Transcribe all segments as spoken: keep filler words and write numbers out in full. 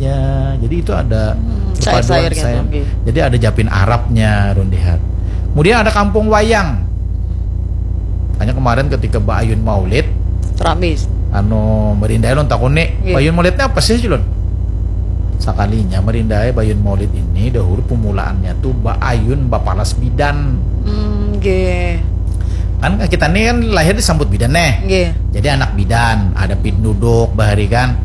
Ya, jadi itu ada Hmm, perpaduan sayur-sayur gitu, sayur. Nggih. Jadi ada Japin Arabnya, ulun lihat. Kemudian ada Kampung Wayang. Hanya kemarin ketika Mbak Ayun Maulid, Ramis. anu, merindai lon takuni, Nggih. Mbak Ayun Maulidnya apa sih, Julun? Sakalinya merindai Mbak Ayun Maulid ini, dahulu pemulaannya tuh Mbak Ayun Bapalas Bidan. Hmm, nggih. Kan kita nih kan lahir disambut bidan nih. Nggih. Jadi anak bidan, ada pinduduk bahari kan.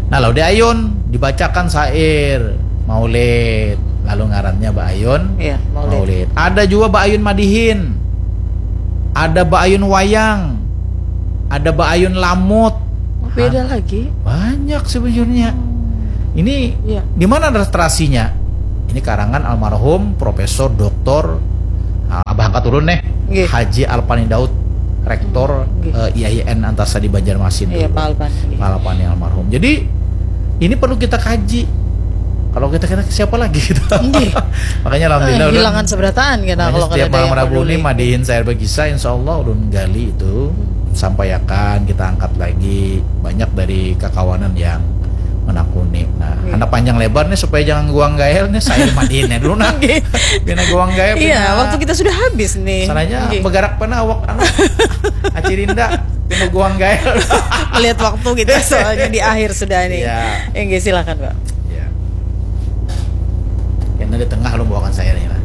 Nah, lalu di Ayun dibacakan syair Maulid, lalu ngarannya Mbak Ayun Iya, Maulid. Ada juga Mbak Ayun Madihin. Ada Mbak Ayun Wayang. Ada Mbak Ayun Lamut. Oh, beda lagi. Banyak sebenarnya. Ini Iya. Di mana literasinya? Ini karangan almarhum Profesor Doktor, ah, Abah angkat ulun nih, Nggih. Haji Alpani Daud, Rektor Nggih. eh, I A I N Antasari Banjarmasin Iya, dulu. Pak Alpani. Pak Alpani almarhum. Jadi ini perlu kita kaji. Kalau kita kena siapa lagi gitu. Nggih. Makanya alhamdulillah Eh, ulun- hilangan seberataan kita Makanya kalau setiap kada ada malam yang Rabu peduli. Ini madihin saya berkisah, insya Allah ulun gali itu, sampaikan, kita angkat lagi banyak dari kakawanan yang menakuni. Nah, Iya. Anak panjang lebar nih supaya jangan guang gael nih, saya madihin dulu nah. Nggih. Pina guang gael. Iya, Pina- waktu kita sudah habis nih. Sananya Nggih. Bergerak pena awak anu. Acirinda, pina guang gael. Melihat waktu gitu ya, soalnya di akhir sudah nih. Iya. Nggih, silakan, Pak. Ya. Karena di tengah lo bawakan saya nih lah.